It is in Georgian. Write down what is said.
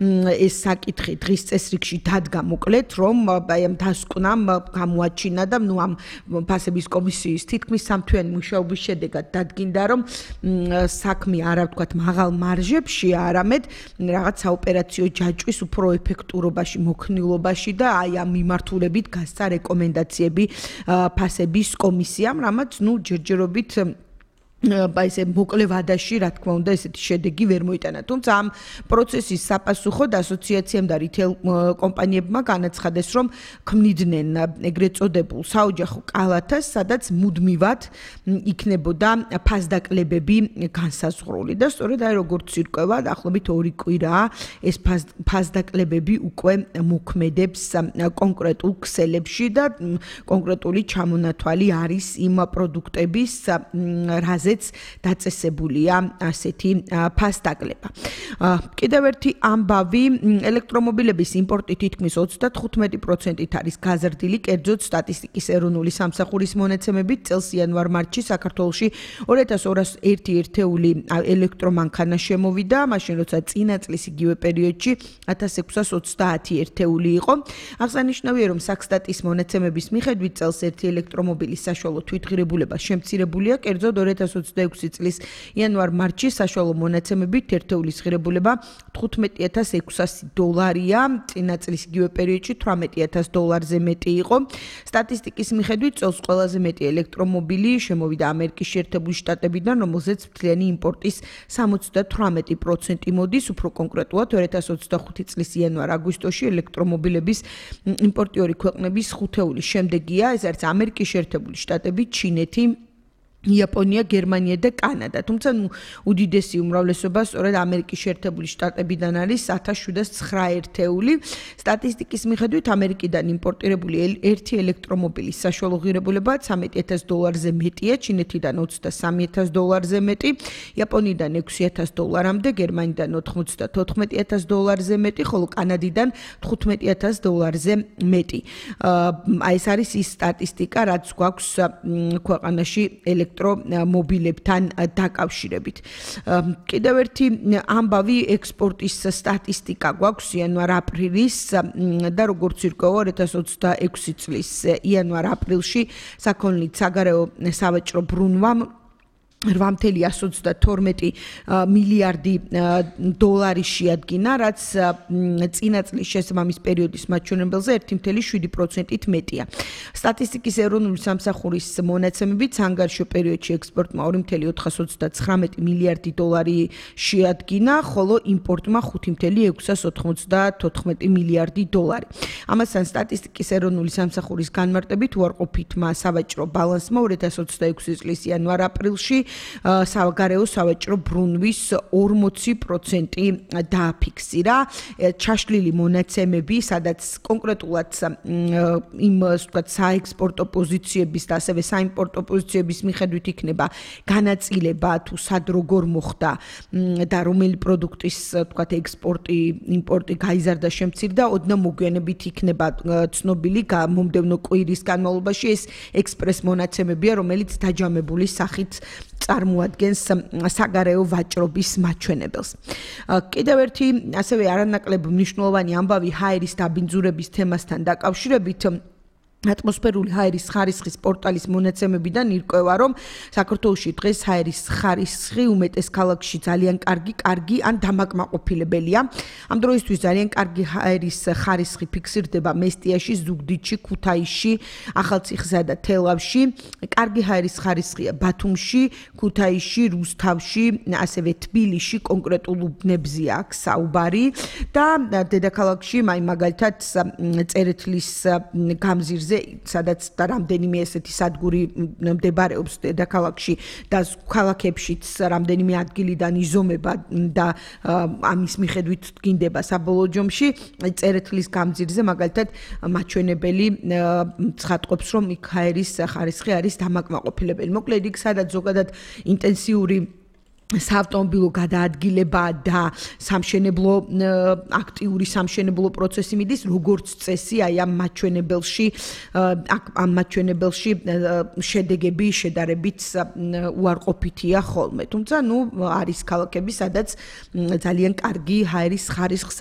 ეს საკითხი დღის წესრიგში დადგა მოკლედ, რომ აი ამ დასკვნამ გამოაჩინა და ნუ ამ ფასების კომისიის თითქმის სამთვიანი მუშაობის შედეგად დადგინდა, რომ საქმე არა ვთქვათ მაღალ მარჟებში, არამედ რაღაც საოპერაციო ჯაჭვის უფრო ეფექტურობაში, მოქნილობაში და აი ამ მიმართულებით გასცა რეკომენდაციები ფასების კომისიამ, რამაც ნუ ჯერჯერობით ესე მოკლე ვადაში, რა თქმა უნდა, ესეთი შედეგი ვერ მოიტანა. თუმცა ამ პროცესის საპასუხოდ ასოციაციამ და რიტეილ კომპანიებმა განაცხადეს, რომ ქმნიდნენ ეგრეთ წოდებულ საოჯახო კალათას, სადაც მუდმივად იქნებოდა ფასდაკლებები განსაზღვრული და სწორედ აი როგორც ირკვევა, დაახლოებით 2 კვირაა ეს ფასდაკლებები უკვე მოქმედებს კონკრეტულ ქსელებში და კონკრეტული ჩამონათვალი არის იმ პროდუქტების, რაზეც დაწესებულია ასეთი ფასდაკლება. კიდევ ერთი ამბავი, ელექტრომობილების იმპორტი თითქმის 35%-ით არის გაზრდილი, კერძოდ სტატისტიკის ეროვნული სამსახურის მონაცემებით წელს იანვარ-მარტში საქართველოში 2201 ერთეული ელექტრომანქანა შემოვიდა, მაშინ როცა წინა წლის იგივე პერიოდში 1630 ერთეული იყო. აღსანიშნავია, რომ საქსტატის მონაცემების მიხედვით წელს ერთი ელექტრომობილის საშუალო თვითღირებულება შემცირებულია, კერძოდ 2026 წლის იანვარ-მარტში საშუალო მონაცემებით ერთეულის ღირებულება $15600-ია, წინა წლის იგივე პერიოდში $18000-ზე მეტი იყო. სტატისტიკის მიხედვით წელს ყველაზე მეტი ელექტრომობილი შემოვიდა ამერიკის შეერთებული შტატებიდან, რომელზეც მთლიანი იმპორტის 78% მოდის, უფრო კონკრეტულად 2025 წლის იანვარ-აგვისტოში ელექტრომობილების იმპორტიორი ქვეყნების ხუთეულის შემდეგია, ეს არის ამერიკის შეერთებული შტატები, ჩინეთი, იაპონია, გერმანია და კანადა. თუმცა უდიდესი უმრავლესობა სწორედ ამერიკის შეერთებული შტატებიდან არის 1709 ერთეული. სტატისტიკის მიხედვით ამერიკიდან იმპორტირებული ერთი ელექტრომობილის საშუალო ღირებულება $13000-ზე მეტია, ჩინეთიდან $23000-ზე მეტი, იაპონიიდან $6000-მდე, გერმანიდან $94000-ზე მეტი, ხოლო კანადიდან $15000-ზე მეტი. აი ეს არის ის სტატისტიკა, რაც გვაქვს ქვეყანაში ელექტრომობილებთან დაკავშირებით. კიდევ ერთი ამბავი, ექსპორტის სტატისტიკა გვაქვს იანვარ-აპრილის და როგორც ირკვევა 2026 წლის იანვარ-აპრილში საქონლით საგარეო სავაჭრო ბრუნვამ $8.122 მილიარდი შეადგინა, რაც წინა წლის შესაბამის პერიოდის მაჩვენებელზე 1.7%-ით მეტია. სტატისტიკის ეროვნული სამსახურის მონაცემებით სანგარშო პერიოდში ექსპორტმა $2.429 მილიარდი შეადგინა, ხოლო იმპორტმა $5.694 მილიარდი. ამასთან სტატისტიკის ეროვნული სამსახურის განმარტებით უარყოფითმა სავაჭრო ბალანსმა 2026 წლის იანვარ-აპრილში საგარეო სავაჭრო ბრუნვის 40% დააფიქსირა. ჩაშლილი მონაცემები, სადაც კონკრეტულად იმ ვთქვათ საექსპორტო პოზიციების და ასევე საიმპორტო პოზიციების მიხედვით იქნება განაწილება თუ სად როგორ მოხდა და რომელი პროდუქტის ვთქვათ ექსპორტი, იმპორტი გაიზარდა, შემცირდა, ოდნავ მოგვიანებით იქნება ცნობილი მომდევნო კვირის განმავლობაში ეს ექსპრეს მონაცემებია, რომელიც დაჯამებული სახით წარმოადგენს საგარეო ვაჭრობის მაჩვენებელს. კიდევ ერთი ასევე არანაკლებ მნიშვნელოვანი ამბავი ჰაერის დაბინძურების თემასთან დაკავშირებით ატმოსფერული ჰაერის ხარისხის პორტალის მონაცემებიდან ირკვევა, რომ საქართველოში დღეს ჰაერის ხარისხი უმეტეს ქალაქში ძალიან კარგი ან დამაკმაყოფილებელია. ამ დროისთვის ძალიან კარგი ჰაერის ხარისხი ფიქსირდება მესტიაში, ზუგდიდში, ქუთაისში, ახალციხსა და თელავში. კარგი ჰაერის ხარისხია ბათუმში, ქუთაისში, რუსთავში, ასევე თბილისში, კონკრეტულ უბნებზე აქვს საუბარი და დედაქალაქში, მაგალითად წერეთლის გამზირზე, სადაც რამდენიმე ესეთი სადგური მდებარეობს დედაქალაქში და ქალაქებშიც რამდენიმე ადგილიდან იზომება და ამის მიხედვით დგინდება საბოლოო ჯამში, წერეთლის გამზირზე მაგალითად მაჩვენებელი ცხადყოფს, რომ იქ ჰაერის ხარისხი არის დამაკმაყოფილებელი. მოკლედ იქ სადაც ზოგადად ინტენსიური საავტომობილო გადაადგილება და სამშენებლო აქტიური სამშენებლო პროცესი მიდის, როგორც წესი, აი ამ მაჩვენებელში შედეგები შედარებით უარყოფითია ხოლმე. თუმცა, არის ქალაქები, სადაც ძალიან კარგი ჰაერის ხარისხს